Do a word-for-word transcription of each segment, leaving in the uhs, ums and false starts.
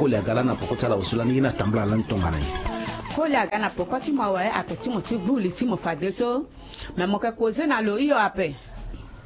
Koli aga lani na poko ti ala awe so lani ye ni atambula lani tongana nyen? Koli aga na poko ti mo awe, ayeke ti mo ti gbu li ti mo fadeso. Me mo yeke koze na lo hio ape.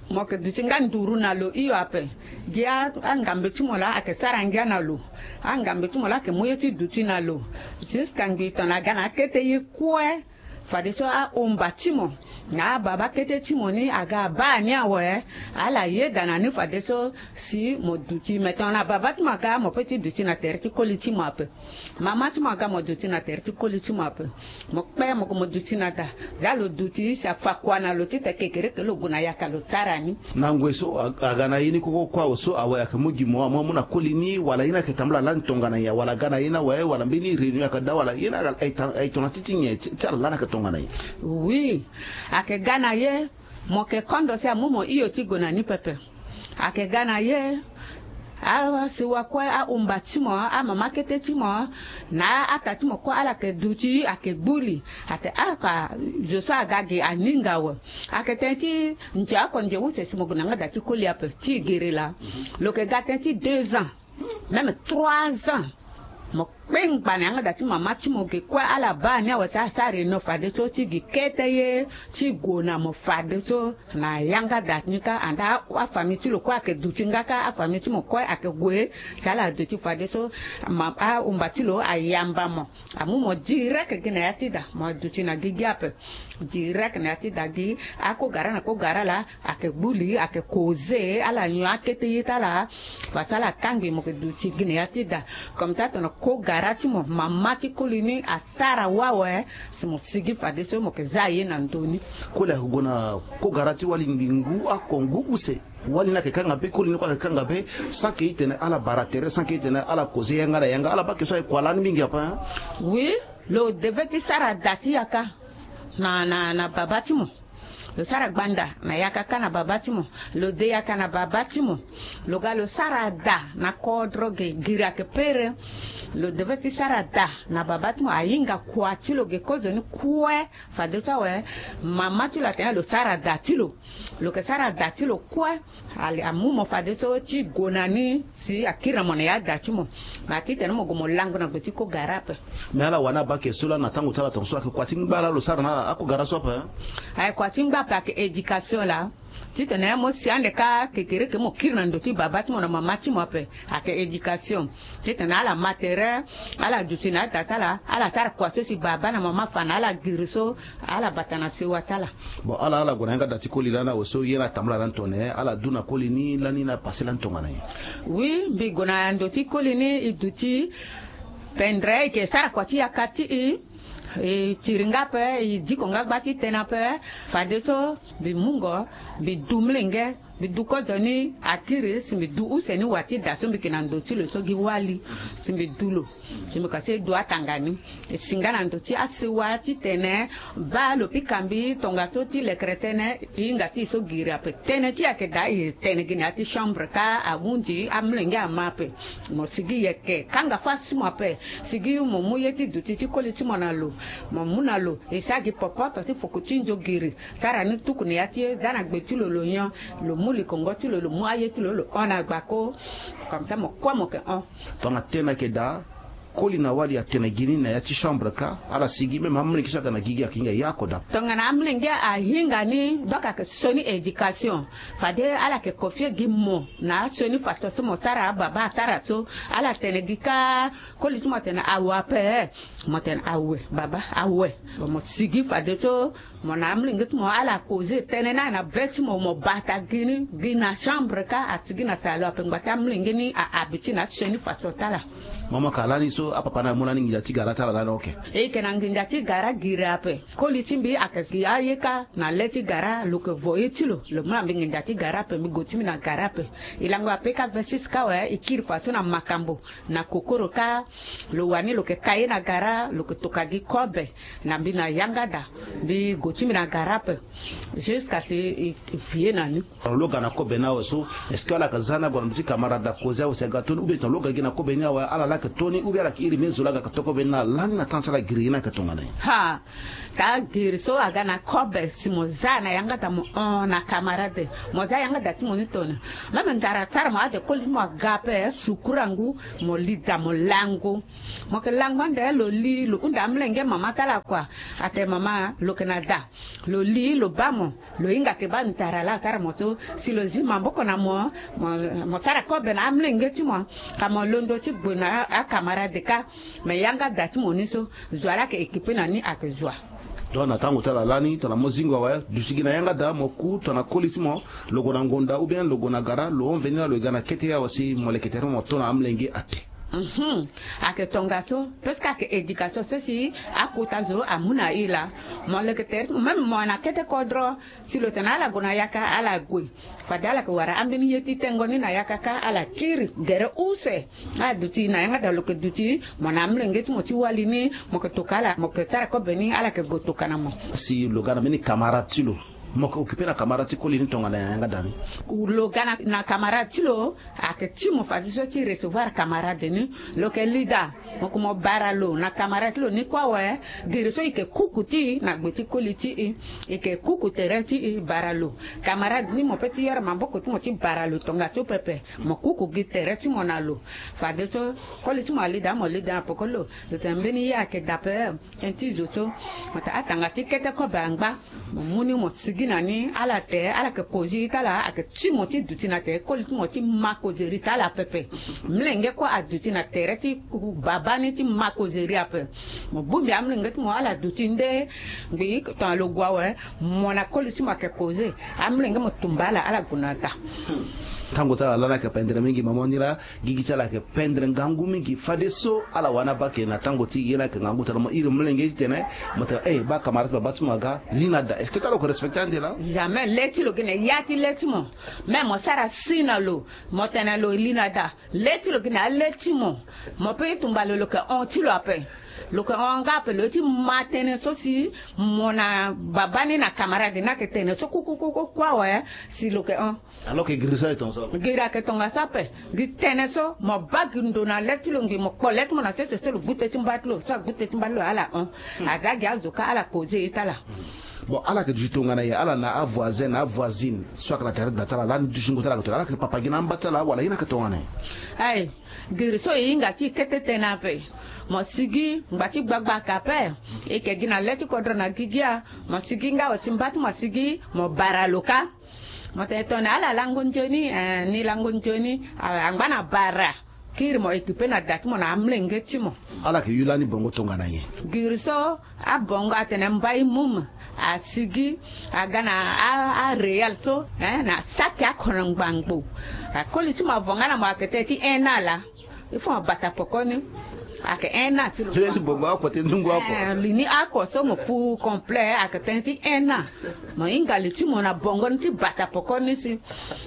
Mo yeke duti nga nduru na lo hio ape. Gi angambe ti mo laa ayeke sara ngia na lo. Angambe ti mo laa ayeke mu ye ti duti na lo. Jusqu'à ngbii tongana aga na akete ye kue. Fadeso ahumba ti mo na ababa kete ti mo ni aga abaa ni awe. Ala yeda na ni fadeso si mo duti. Me tongana baba ti mo aga, mo pe ti duti na tere ti koli ti mo ape. Mama ti mo aga, mo duti na tere ti koli ti mo ape. Mo kpe mo ko mo duti na da. Za lo duti si afa kua na lo titene kekereke lo gue na yaka lo sara ni. Na ngoi so aga na ye ni koko kue awe so awe ayeke mu gi mo amu amu na koli ni, wala ye ni ayeke tambula lani tongana nyen? Wala aga na ye ni awe, wala mbeni réunion ayeke daa, wala ye ni ayeke tongana ti ti nyen ti ala lani ayeke tongana nyen? Oui. Ayeke ga na ye. Mo yeke kondo si amu mo hio ti gue na ni pepe. Ayeke ga na ye. Asiwa kue, ahumba ti mo, amama kete ti mo, na ata ti mo kue ala yeke duti, ayeke gbu li. Ate afa, zo so aga gi aninga awe. Ayeke tënë ti nze oko nze use si mo gue na yanga da ti koli ape ti gere laa. Lo yeke ga tënë ti deux ans, même trois ans. Mo kpengba na yanga da ti mama ti mo ge kue, ala baa ni awe si asara eno fadeso ti gi kete ye ti gue na mo fadeso. Na yanga da ti ni kâ, anda afamille ti lo kue ayeke duti nga kâ, afamille ti mo kue ayeke gue si ala duti fadeso. Ahumba ti lo ayamba mo, amu mo direct gi na ya ti da, mo duti na gigi ape. Direct na ya ti da gi akogara na kogara laa ayeke gbu li, ayeke koze, ala nyon akete ye ti ala. Fadeso ala kangbi mo yeke duti gi na ya ti da. Comme ça tongana kogara ti mo, mama ti koli ni asara wawe, si mo sigi fadeso mo yeke za ye na ndö ni. Koli ayeke gue na kogara ti wali ngu oko ngu use. Wali ni ayeke kanga be, koli ni kue ayeke kanga be. Sans que e tene ala bara tere, sans que e tene ala koze yanga na yanga, ala baa ke so aye kua lani mingi ape. Oui. Lo devait ti sara da ti yaka na, na, na baba ti mo. Lo sara gbanda na yaka kâ na baba ti mo. Lo de yaka na baba ti mo. Lo ga lo sara da na kodro ge, giri ayeke pere. Lo devait ti sara da na baba ti mo. Ahinga kua ti lo ge kozoni kue. Fadeso awe, mama ti lo atene lo sara da ti lo. Lo yeke sara da ti lo kue. Ale amu mo fadeso ti gue na ni si akiri na mo na ya da ti mo. Ma titene mo gue mo lango na gbe ti kogara ape. Me ala wani abaa ke so lani na tango ti ala tongaso ayeke kua ti ngba laa lo sara na akogara so ape? Ayeke kua ti ngba ape, ayeke éducation laa. Titene mo si ande kâ kekereke mo kiri na ndo ti baba ti mo na mama ti mo ape. Ayeke éducation. Titene ala ma tere, ala duti na ada ti ala, ala sara kua so si baba na mama afa na ala giri so, ala bata na sewa ti ala. Bon, ala, ala gue na yanga da ti koli lani awe so ye ni atambula lani tongana nyen? Ala du na koli ni lani, ni apase lani tongana nyen? Oui, mbi gue na ndo ti koli ni, e duti pendre, e yeke sara kua ti yaka ti e. E tiri nga ape, e diko nga gba ti tene ape. Fadeso mbi mungo, mbi du mlenge, mbi du kozoni akiri, si mbi du use ni wa ti da so mbi yeke na ndo ti lo so gi wali. Si mbi du lo, si mbi kasi du atanga ni. E si nga na ndo ti asewa titene baa lo pika mbi tongaso ti lekere tënë, e hinga ti e so giri ape. Tënë ti e ayeke daa, e tene gi na ya ti chambre kâ, ahunzi amolenge ama ape. Mo sigi yeke kanga fâ si mo ape. Sigi mo mu ye ti duti ti koli ti mo na lo. Mo mu na lo, e sara gi popoto ti fuku ti nzogiri. Sara ni tuku na ya ti e, za na gbe ti lo lo nyon. Lo mu likongo ti lo, lo mu aye ti lo, lo hon na gbako. Comme ça mo kue mo yeke hon. Tongana tënë ayeke daa, koli na wali atene gi ni na ya ti chambre kâ, ala sigi, même amolenge so aga na gigi ayeke hinga ye oko daa. Tongana amolenge ahinga ni, donc ayeke sioni éducation. Fade ala yeke confier gi mo na asioni façon so mo sara, ababa asara so. Ala tene gi kâ, koli ti mo atene awe ape. Mo tene awe, baba, awe. Bon, mo sigi fadeso mo na amolenge ti mo ala causer tënë ni na be ti mo, mo bata gi ni gi na chambre kâ, asigi na talo ape, ngbata amolenge ni a habitué na asioni façon ti ala. Mama ka lani so apapa ni amu lani nginza ti gara ti ala lani, ok. E yeke na nginza ti gara giri ape. Koli ti mbi ayeke gi aye kâ na le ti gara, lo yeke voye ti lo, lo mu na mbi nginza ti gara ape, mbi gue ti mbi na gara ape. E lango ape kâ vingt-six kâ awe, e kiri fadeso na makambo. Na kokoro kâ, lo wani lo yeke ka ye na gara, lo yeke toka gi kobe na mbi na yanga da. Mbi gue ti mbi na gara ape. Jusqu'à si e vie na ni. Lo ga na kobe ni awe so, est-ce que ala yeke za ni ague na ndo ti camarade da causer awe si aga to ni, ou bien tongana lo ga gi na kobe ni awe ala laa ayeke to ni, ou bien ala Iri me zo laa ga ka toko be na lani na tanga ti ala giri ye ni ayeke tongana nyen? Ha. Ka giri so aga na kobe si mo za na yanga da mo hon na camarade, mo za yanga da ti mo ni tone. Même ndara sara mo ade koli ti mo aga ape, sukura ngu, mo li da mo lango. Mo yeke lango ande, lo li lo hunda amolenge mama ti ala kua. Atene mama, lo yeke na da. Lo li lo baa mo. Lo hinga yeke baa ndara laa asara mo so. Si lo zi maboko na mo, mo sara kobe na amolenge ti mo. Ka mo londo ti gbo na acamarade kâ. Mais yanga da ti mo ni so, zo wa laa ayeke équipe na ni ayeke zo wa. Donc na tango ti ala lani tongana mo zingo awe, duti gi na yanga da mo ku tongana koli ti mo, lo gue na ngonda ou bien lo gue na gara, lo hon veni laa lo yeke ga na kete awe si mo leke tere mo to na amolenge ate. Mhm. Ayeke tongaso, parce que ayeke éducation so si akota zo amu na e laa. Mo leke tere ti mo, même mo na kete kodro, si lo tene ala gue na yaka ala gue. Fade ala yeke wara ambeni ye ti tengo ni na yaka kâ, ala kiri gere use. Ala duti na yanga da, lo yeke duti mo na amolenge ti mo ti wali ni, mo yeke toka ala, mo yeke sara kobe ni, ala yeke gue toka na mo. Si lo ga na mbeni camarade ti lo, mo yeke occupe na camarade ti koli ni tongana yanga da ni? Lo ga na, na camarade ti lo, ayeke ti mo fadeso ti recevoir camarade ni. Lo yeke li da, mo yeke mo bara lo na camarade ti lo ni kue awe. Giri so e yeke kuku ti e na gbe ti koli ti e. E yeke kuku tere ti e bara lo. Camarade ni mo pe ti yoro maboko ti mo ti bara lo tongaso pepe. Mo kuku gi tere ti mo na lo. Fadeso koli ti mo ali da, mo li da na poko lo. Lo tene mbeni ye ayeke da ape. Tënë ti zo so, mo tene atanga ti kete kobe angba. Mo mu ni mo sigi na ni, ala te, ala yeke kozi ti ala, ayeke ti mo ti duti na tere koli ti mo ti ma kozeri ti ala pepe. Molenge kue aduti na tere ti baba ni ti ma kozeri ape. Mo bongbi amolenge ti mo, ala duti nde ngbii tongana lo gue awe, mo na koli ti mo ayeke koze. Amolenge mo tumba ala, ala gue na da. Tango ti ala lani ayeke pendere mingi, mama ni laa gigi ti ala ayeke pendre ngangu mingi. Fadeso ala wani abaa ke na tango ti e ye ni ayeke ngangu tongana mo iri molenge ti tene, mo tene eh, baa camarade ti baba ti mo aga, li na da. Est-ce que ti ala lo yeke respecte ande laa? Jamais. Le ti lo gi na ya ti le ti mo. Même mo sara si na lo, mo tene lo li na da. Le ti lo gi na ya le ti mo. Mo pe ti tumba lo, lo yeke hon ti lo ape. Lo yeke hon nga ape, lo ye ti ma tënë so si mo na baba ni na camarade ni ayeke tene so kukukuku kue awe, si lo yeke hon. Alors que giri so aye tongaso ape. Giri ayeke tongaso ape. Gi tënë so, mo baa gi ndo na le ti lo ngbii, mo kpo le ti mo na sese so lo gbute ti mba ti lo, so agbute ti mba ti lo ala hon. Aza gi azo kâ ala koze ye ti ala. Bon, ala yeke duti tongana nyen ala na avoisin na avoisine so ayeke na tere da ti ala lani, dutingo ti ala ayeke tongana nyen? Ala yeke papa gi na amba ti ala wala ye ni ayeke tongana nyen? Aye, giri so e hinga ti e kete tënë ape. Mo sigi, ngba ti gbagba ayeke ape. E yeke gi na le ti kodro na gigi a. Mo sigi nga awe si mba ti mo asigi, mo bara lo kâ. Mo tene tongana ala lango nzoni, eh, ni lango nzoni, ah, angba na bara. Kiri mo occupe na da ti mo na amolenge ti mo. Ala yeke yu lani bongo tongana nyen? Giri so, abongo atene mbai mum, asigi, aga na a, a réal so, eh, na saki akono ngbangbo. Akoli ti mo avo nga na mo ayeke tënë ti un an laa. Il faut mo bata poko ni. Ayeke un an ti lo. Tënë ti bongo oko ti ndungu oko. Eh, li ni oko so mo fu complet, ayeke tënë ti un an. Mo hinga li ti mo na bongo ni ti bata poko ni si.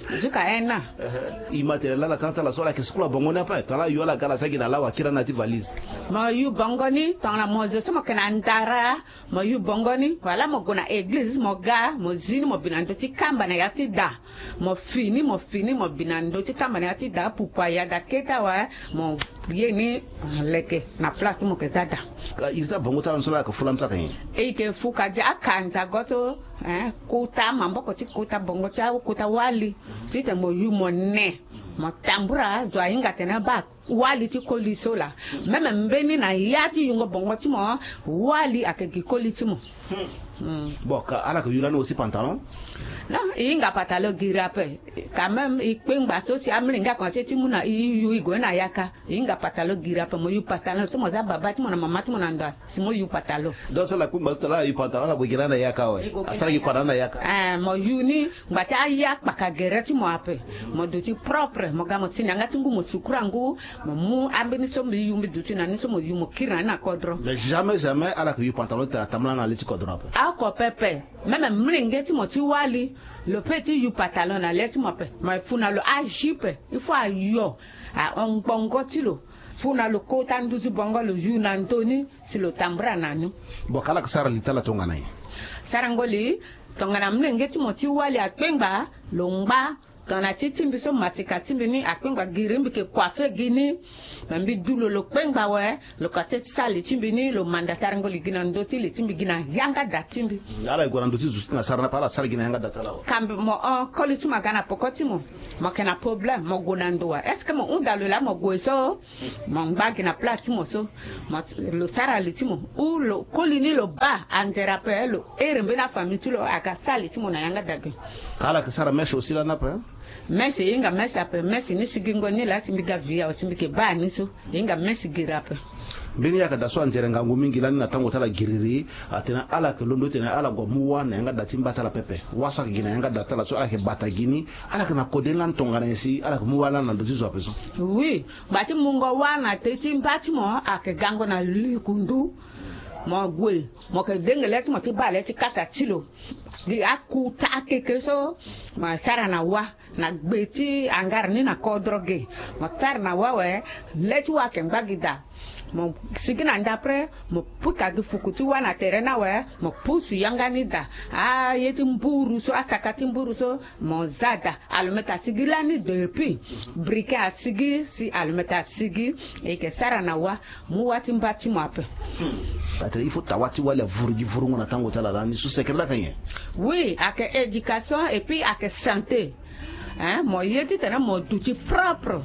Jusqu'à un an. Eh, e ma tene laa na tanga ti ala so ala yeke sukula bongo ni ape. Tongana ayo ala ga ala saki na lawa akiri na ya ti valise. Mo yu bongo ni, tongana mo zo so mo yeke na ndara, mo yu bongo ni. Wala mo gue na eglize, mo ga, mo zi ni, mo bi na ndö ti kamba na ya ti da. Mo fini, mo fini, mo bi na ndö ti kamba na ya ti da, pupu aya da kete awe, mo ye ni, ah, leke na place ti mo yeke za da. Ka iri ti abongo ti ala ni so laa ayeke fu lani so ayeke nyen? E yeke fu ka gi akanzago so, eh, kota maboko ti kota bongo ti akota wali. Titene mo yu mo ne. Mo tambura, zo ahinga atene baa wali ti koli so laa. Même mbeni na ya ti yungo bongo ti mo, wali ayeke gi koli ti mo. Hmm. Bon, ka ala yeke yu lani aussi pantalon? Non, e hinga pantalon giri ape. Quand même, e kpengba so si amolenge akomanse ti mu na e yu e gue na yaka. E hinga pantalon giri ape, mo yu pantalon so mo za baba ti mo na mama ti mo na ndo. Si mo yu pantalon. Donc so ala kpengba so tongana ala yu pantalon ala gue gi lani na yaka awe. Asara gi kua na lani na yaka. Eh, mo yu ni, ngba ti aya kpaka gere ti mo ape. Mo duti propre, mo ga mo si na yanga ti ngu, mo sukura ngu, mo mu ambeni so mbi yu mbi duti na ni so mo yu mo kiri na ni na kodro. Mais jamais, jamais ala yeke yu pantalon ti tene atambula na le ti kodro ape. Oko pepe. Même molenge ti mo ti wali, lo pe ti yu pantalon na le ti mo ape. Mo fu na lo ajupe, il faut ayo, ahon ngbongo ti lo. Fu na lo kota nduzu bongo lo yu na ndö ni. Si lo tambula na ni. Bon, ka ala yeke sara li ti ala tongana nyen? Sarango li, tongana molenge ti mo ti wali akpengba, lo ngba, Tongana ti ti mbi so matika ti mbi ni akpengba giri mbi ke kua fe gi ni. Me mbi du lo lo kpengba awe. Lo ka teti sara li ti mbi ni lo manda tarango li gi na ndö ti li ti mbi gi na yanga da ti mbi. Ala e gue na ndö ti zo ti na sara ni ape ala sara gi na yanga da ti ala awe. Kambi mo hon koli ti mo aga na poko ti mo. Mo yeke na problème mo gue na ndo wa est-ce que mo hunda lo laa mo gue so? Mo ngba gi na plat ti mo so. Mo lo sara li ti mo ou lo koli ni lo baa anzere ape lo here mbeni afamille ti lo aga sara li ti mo na yanga da gi. Ka ala yeke sara mèche aussi lani ape. Mèche e hinga mèche ape mèche ni sigingo ni laa si mbi ga via awe si mbi yeke baa ni so. E hinga mèche giri ape. Mbeni yaka da so anzere ngangu mingi lani na tango ti ala giriri. Atene ala yeke londo titene ala gue amu wâ na yanga da ti mba ti ala pepe wâ so ayeke gi na yanga da ti ala so ala yeke bata gi ni. Ala yeke na kode ni lani tongana nyen si ala yeke mu wâ lani na ndö ti zo ape so? Oui. Gba ti mungo wâ na te ti mba ti mo ayeke gango na likundu. Mo gue mo yeke denge le ti mo ti baa le ti kata ti lo. Gi akuta akeke so mo sara na wâ na gbe ti angara ni na kodro ge. Mo sara na wâ awe. Le ti wâ ayeke ngba gi daa. Mo sigi na ndapre mo pika gi fuku ti wâ na tere ni awe. Mo pusu yanga ni daa. Aye ti mburu so asaka ti mburu so mo za daa. Alometa asigi lani depuis briquet asigi si alometa asigi. E yeke sara na wâ. Mu wâ ti mba ti mo ape. Atene il faut tawa ti wali avuru gi vurungo na tango ti ala lani so secret laka nyen? Oui ayeke éducation et puis ayeke santé. Hein mo ye titene mo duti propre.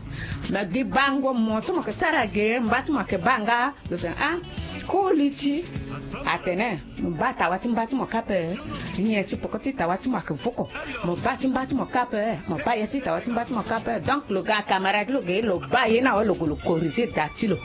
Me gi bango mo so mo yeke sara ge mba ti mo ayeke baa nga. Lo tene ah koli ti atene mo baa tawa ti mba ti mo kâ ape. Nyen ti poko ti tawa ti mo ayeke voko. Mo baa ti mba ti mo kâ ape mo baa ye ti tawa ti mba ti mo kâ ape donc lo ga camarade lo ge lo baa ye ni awe lo gue lo corriger da ti lo.